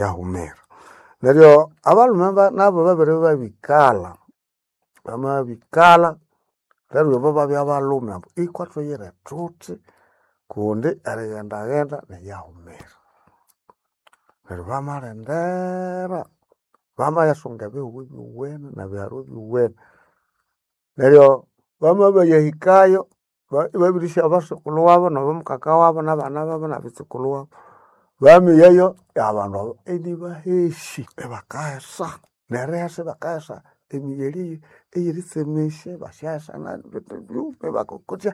Yahumira. Neryo abalhume nabo babere babikalha, bamabikalha neryo abo babya balhume ambu ikwa thuyire thuthi kundi erighendaghenda niyahumira. Neryo bamalindira, bamayasunga ebihugho ebyowene nebiharu ebyowene. Neryo bamabayahikayo ibabirisya abasokulhu wabo nabamukaka wabo nabana babo nabitsukulhu wabo. Bamiyayo abandu abo inibahesi, ibakahesa nerihesa ibakahesa emiyeri eyiritsemesya ibasyahesa nebindu byuma ibakokotya.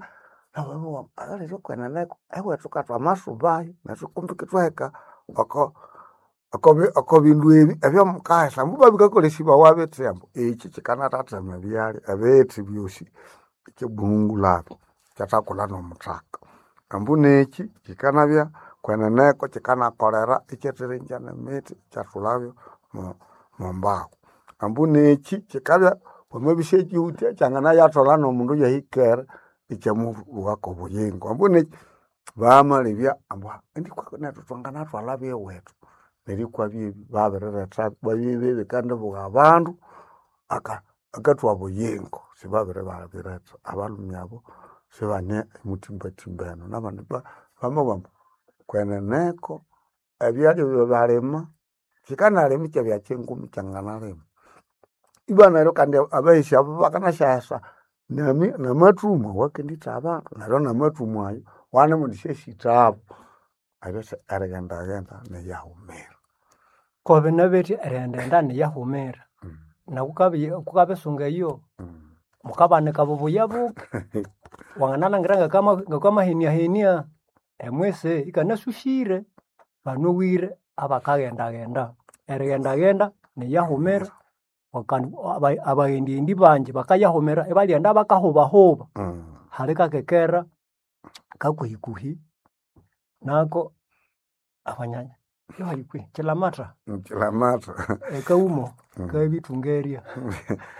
Nababugha ambu akalere okweneneko ewethu ngathwamasubayo nethu kumbi ithwahika oko oko bindu ebi ebyamukahesa ambu bikakolesibawa bithi ambu ekyi kyikanathathema ebyalya ebithi byosi ikyabuhungulabya ikyathakulha nomuthaka. Ambu nekyi kyikanabya kweneneko kyikanakolera ikyathiringya nemithi ikyathulabyo mwambahu. Ambu nekyi kyikabya wamabya isyakyiwithe kyanganayathwalha nomundu iyahikere ikyamubughako obuyingo. Ambu nekyi bamalebya ambu indi nethu thwanganathwalhabyo ewethu. Neryo ikwabya babiriretha babye bikandibugha abandu akathuha obuyingo sibabiribabiretha. Abalhume abo sibane muthimbathimba eno nabandi bamabugha ambu kweneneko ebyalya ebyabalima kyikanalima ikyabya kyinguma ikyanganalima. Ibwa neryo kandi abahesi abo bakanasyahesa namathumu awakenditha abandu neryo namathumu ayo wanemwendisyasithabo. Erisi erighendaghenda niyahumira. Kobinabetya erighendaghenda niyahumira. Naku kukabisunga eyo, mukabanika bubuya buke. Wanganalhangira ngakamaheniahenia emwisi ikanasusire. Banowire abakaghendaghenda. Erighendaghenda niyahumira kandi abaghendaghendi bangi bakayahumira ibalyaghenda bakahubahuba. Hali kakekera kakuhikuhi nako abanyanya yohali Kyilamata. Kyilamata. Ekaumo kabithungerya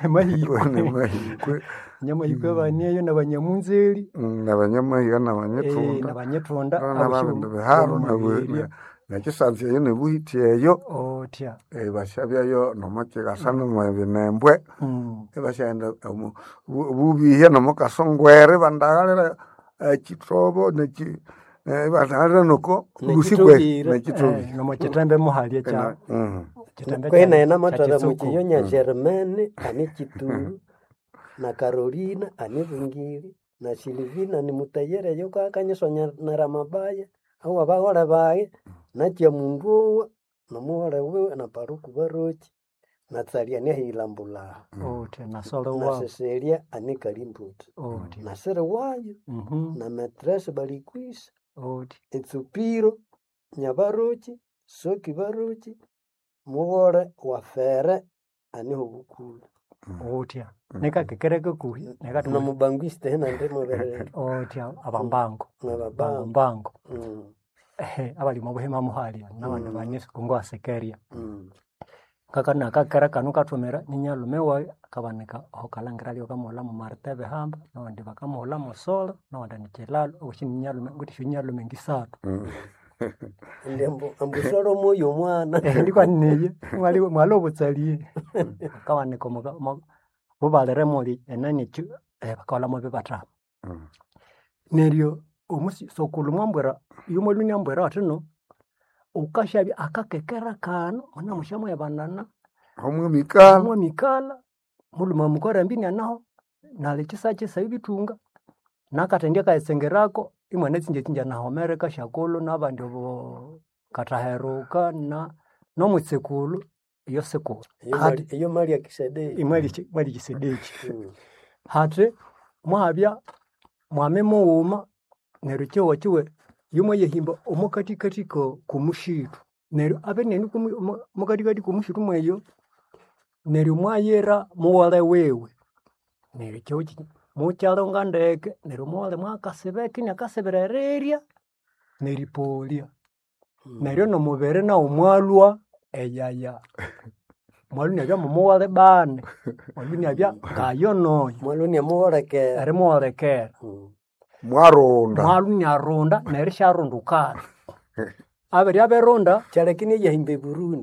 amahikwe. Nyamahikwe abaneyo nabanyamunzeri. Nabanyamahiga nabanyithunda. Nabanyithunda Nababindi biharu nekyisanza eyo nebuhiti eyo. Othya. Ibasyabyayo nomokyigasa nomwebinembwe. Ibasyaghenda obubihya nomokasongwere ibandaghalira ekyithobo ibandaghalira noko lusikwe nekyithobire. Nomokyithembe muhali ekya Kwehi nayi namathwalha mukyiyonya Germaine ani Kyituru na Carolina ani Bungiri na Silivina ni mutayere eyo akanyisonera amabaya awabaghole bayi nakyamunduwa nomughole wiwe na Paluku Baroki na Tsalia anihilambulaha Othya nasole na wabu. Cecilia ani Kalimbuti Othya. na Siriwayo na Metresi Balikwisa Othya. Etsupiro Nyabaroki Soki Baroki mughole wa Fere aniho Bukulu. Othya. Nikakekera kakuhi Nomubangwiste nandi muberere. Othya abambango. Nabambango. Bambango. Abali omo buhima muhali nabandi bane kongo asekerya. Ngakana kanu kathumira ninyalume wayi akabanika aho kalhangira alyo bakamughulha mo Martin Bihamba nabandi bakamughulha mo Solo nabandi ni Kyilalo owosi ninyalume ngwithe esyonyalume ngisathu. Indi ambu Solo mwoyo omwana. Ndikwa niyo mwali obutsalye. Bakabanika bubalire muli enani bakaghulha bibathanu. Neryo omusi sokulhu mwambwira iyo mwalhwa inambwira athi no wukasyabya akakekera kano munamusyamwebanana. Hamwamikalha. Hamwamikalha mulhume mukarambi inianaho nali kyisakyisa ibithunga nakathendya akayitsengerako imwanatsingyatsingyana nahomereka syakulhu nabandi obo kathaheruka na nomwitsekulhu iyo sikulhu. Eyo mwali Kisedeki. Imwali Kisedeki. Hathi muhabya mwami mughuma neryo kyihugho kyiwe yomwayahimba omokathikathi komusithu. Neryo abere iniane omokathikathi komusithu mweyo neryo mwayira mughole wiwe. Neryo ekyihugho kyi mukyalhunga ndeke neryo omughole mwakasibeka iniakasibira erirya neripolya. Neryo nomubiri nawu mwalhwa eyaya. Mwalhwa inabya mumughole bani, mwalhwa inabya ngayo noyo. Mwalhwa inamuholekera. Erimuholekera. Mwarunda. Mwalhwa iniarunda nerisyarundukana. Abere abirunda Kyalekini eyahimba e Burundi.